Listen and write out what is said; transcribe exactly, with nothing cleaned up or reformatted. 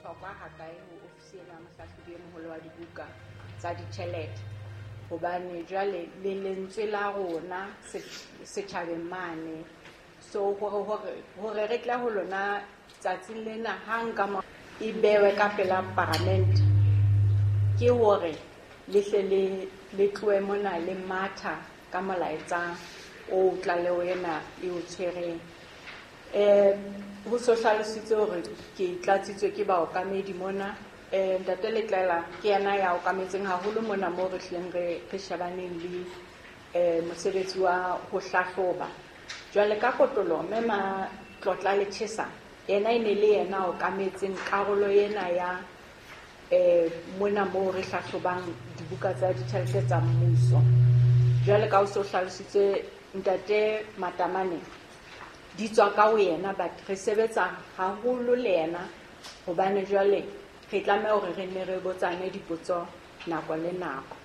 Bohlokwa hakae ho ofisi ena ya mohlahlobi e moholo wa dibuka tsa ditjhelete, hobane jwale le lentswe la rona setjhabeng mane. So hore hore hore re tle ho lona tsatsing lena hang ka mo e bewe ka pela paramente, ke hore le hle le le tlohe mona le matha ka molaetsa o tlaleho ena e o tshwereng. Eh ho so hlalositswe hore ke tlatsitswe ke baokamedi mona. Eh Ntate Letlaela ke yena ya okametseng haholo mona moo re hlileng re re shebaneng le eh mosebetsi wa ho hlahloba. Jwale ka kotloloho mme Matlotla Lechesa yena e ne le yena a okametseng karolo ena ya eh mona moo re hlahlobang dibuka tsa ditjhelete tsa mmuso. Jwale ka ho so hlalositswe Ntate Matamane, di tswa ka ho yena, but re sebetsa haholo le yena hobane jwale re tlameha hore re nne re botsane dipotso nako le nako.